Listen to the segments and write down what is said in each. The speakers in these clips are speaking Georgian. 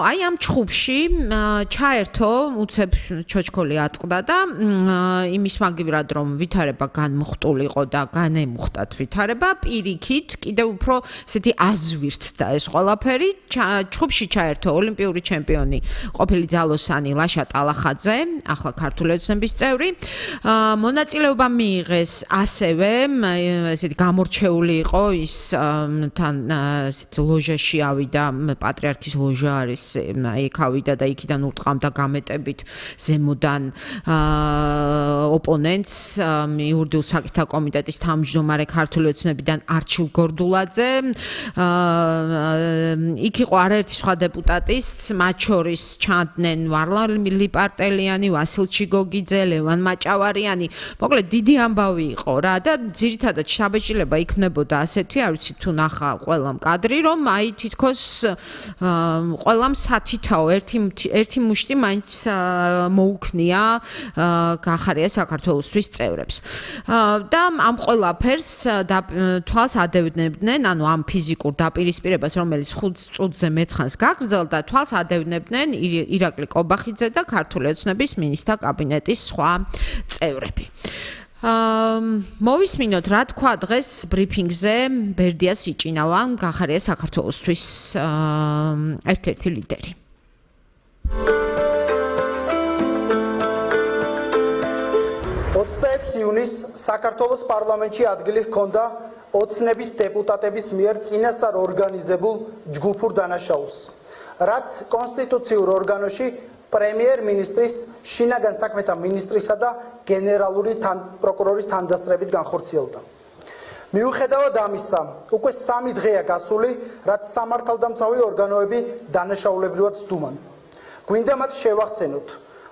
აი ამ ჩხუბში ჩაერთო უცებ ჩოჩქოლი ატყდა და იმის მაგივრად რომ ვითარება განმუხტულიყო და განემუხტათ ვითარება პირიქით კიდევ უფრო ესეთი აზვირთდა ეს ყველაფერი ჩხუბში ჩაერთო ოლიმპიური ჩემპიონი ყოფილი ძალოსანი ლაშა ტალახაძე ახლა ქართული ოცნების წევრი მონაწილეობა მიიღეს ასევე ესეთი გამორჩეული იყო ის თან ესეთი ლოჟაში ავიდა პატრიარქის ლოჟა არის იქ ავიდა და იქიდან ურტყამდა გამეტებით ზემოდან ოპონენტს იურიდიულ საკითხთა კომიტეტის თავმჯდომარე ქართული ოცნებიდან არჩილ გორდულაძე იქ იყო არაერთი სხვა დეპუტატის მათ შორის ჩანდნენ ვარლამ ლიპარტელიანი ვასილ ჩიგოგიძე ლევან მაჭავარიანი მოკლედ დიდი ამბავი იყო რა და ძირითადად შთაბეჭდილება იქნებოდა ასეთი არ ვიცი თუ ნახა ყველამ კადრი რომ აი თითქოს ყველამ სათითაო ერთი მუშტი მაინც მოუქნია გახარია საქართველოსთვის წევრებს და ამ ყველაფერს თვალს ადევნებდნენ ანუ ამ ფიზიკურ დაპირისპირებას რომელიც 5 წუთზე მეთხანს გაგრძელდა თვალს ადევნებდნენ ირაკლი კობახიძე და ქართული ოცნების მინისტრთა კაბინეტის სხვა წევრები მოვისმინოთ რა თქვა დღეს ბრიფინგზე ბერდია სიჭინავან გახარია საქართველოსთვის ერთ-ერთი ლიდერი 26 ივნისს საქართველოს პარლამენტში ადგილი ჰქონდა ოცნების დეპუტატების მიერ წინასწარ ორგანიზებულ ჯგუფურ დანაშაულს რაც კონსტიტუციურ ორგანოში პრემიერ-მინისტრის შინაგან საქმეთა მინისტრისა და გენერალური პროკურორის თანდასწრებით განხორციელდა. მიუხედავად ამისა, უკვე 3 დღეა გასული, რაც სამართალდამცავი ორგანოები დანაშაულებრივად სდუმან. გვინდა მათ შევახსენოთ,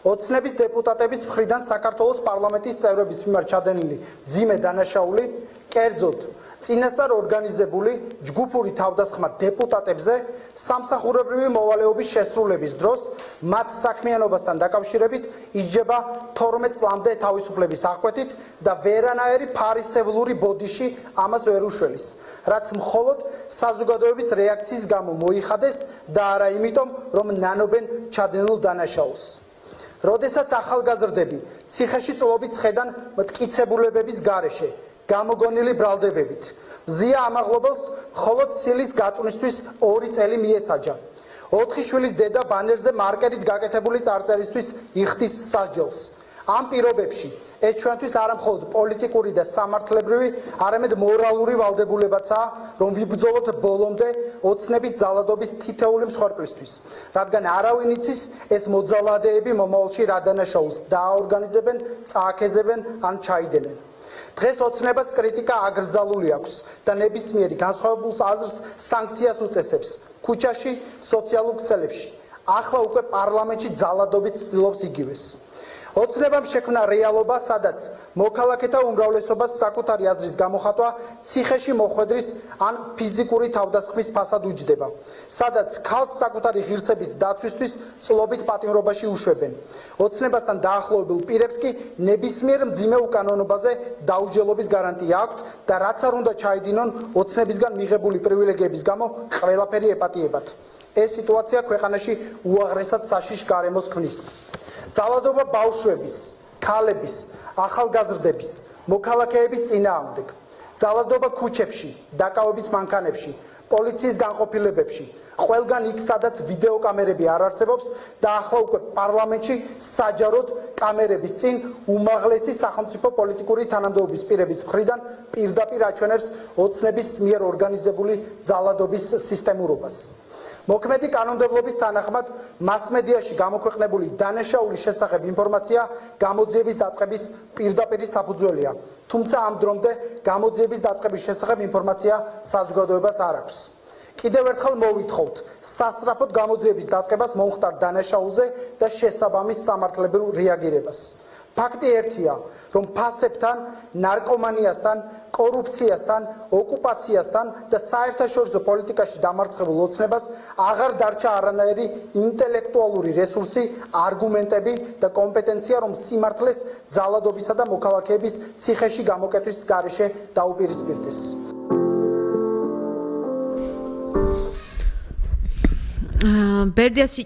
ოცნების დეპუტატების მხრიდან საქართველოს პარლამენტის წევრების მიმართ ჩადენილი მძიმე დანაშაული, კერძოდ წინასწარ ორგანიზებული ჯგუფური თავდასხმა დეპუტატებზე სამსახურებრივი მოვალეობის შესრულების დროს მათ საქმიანობასთან დაკავშირებით ისჯება 12 წლამდე თავისუფლების აღკვეთით და ვერანაირი ფარისევლური ბოდიში ამას ვერ უშველის, რაც მხოლოდ საზოგადოების რეაქციის გამო მოიხადეს და არა იმიტომ, რომ ნანობენ ჩადენილ დანაშაულს. როდესაც ახალგაზრდები ციხეში წლობით ხედან მტკიცებულებების გარეშე გამოგონილი ბრალდებებით. ზია ამაღლობელს მხოლოდ ცილის გაწვნისთვის 2 წელი მიესაჯა. 4 შვილის დედა ბანერზე მარკერით გაკეთებული წარწერისთვის იხდის სასჯელს. ამ პირობებში ეს ჩვენთვის არა მხოლოდ პოლიტიკური და სამართლებრივი, არამედ მორალური ვალდებულებაცაა, რომ ვიბრძოლოთ ბოლომდე ოცნების ძალადობის თითოეული მსხვერპლისთვის, რადგან არავინ იცის ეს მოძალადეები მომავალში რა დანაშაულს დააორგანიზებენ, წააქეზებენ ან ჩაიდენენ. დღეს ოცნებას კრიტიკა აკრძალული აქვს და ნებისმიერი განსხვავებულ აზრს სანქციას უწესებს ქუჩაში, სოციალურ ქსელებში. ახლა უკვე პარლამენტში ძალადობით ცდილობს იგივეს. ოცნებამ შექმნა რეალობა, სადაც მოქალაქეთა უმრავლესობას საკუთარი აზრის გამოხატვა ციხეში მოხვედრის ან ფიზიკური თავდასხმის ფასად უჯდება, სადაც ქალს საკუთარი ღირსების დაცვისთვის წლობით პატიმრობაში უშვებენ. ოცნებასთან დაახლოებულ პირებს კი ნებისმიერ მძიმე უკანონობაზე დაუჯელობის გარანტია აქვთ და რაც არ უნდა ჩაიდინონ ოცნებისგან მიღებული პრივილეგიების გამო ყველაფერი ეპატიებათ. ეს სიტუაცია ქვეყანაში უაღრესად საშიშ გარემოს ქმნის. ძალადობა ბავშვების, ქალების, ახალგაზრდების, მოქალაქეების წინააღმდეგ. ძალადობა ქუჩებში, დაკავების მანქანებში, პოლიციის განყოფილებებში, ყველგან იქ, სადაც ვიდეოკამერები არ არსებობს და ახლა უკვე პარლამენტში საჯაროდ კამერების წინ უმაღლესი სახელმწიფო პოლიტიკური თანამდებობის პირების მხრიდან პირდაპირ აჩვენებს ოცნების მიერ ორგანიზებული ძალადობის სისტემურობას. მოქმედი კანონმდებლობის თანახმად მასმედიაში გამოქვეყნებული დანაშაულის შესახებ ინფორმაცია გამოძიების დაწყების პირდაპირი საფუძველია, თუმცა ამ დრომდე გამოძიების დაწყების შესახებ ინფორმაცია საზოგადოებას არ აქვს. კიდევ ერთხელ მოვითხოვთ სასწრაფოდ გამოძიების დაწყებას მომხდარ დანაშაულზე და შესაბამის სამართლებრივ რეაგირებას. ფაქტი ერთია, რომ ფასებთან, ნარკომანიასთან, კორუფციასთან, ოკუპაციასთან და საერთაშორისო პოლიტიკაში დამარცხებულ ოცნებას აღარ დარჩა არანაირი ინტელექტუალური რესურსი, არგუმენტები და კომპეტენცია, რომ სიმართლეს ძალადობისა და მოქალაქეების ციხეში გამოკეტვის გარეშე დაუპირისპირდეს. ბერდიას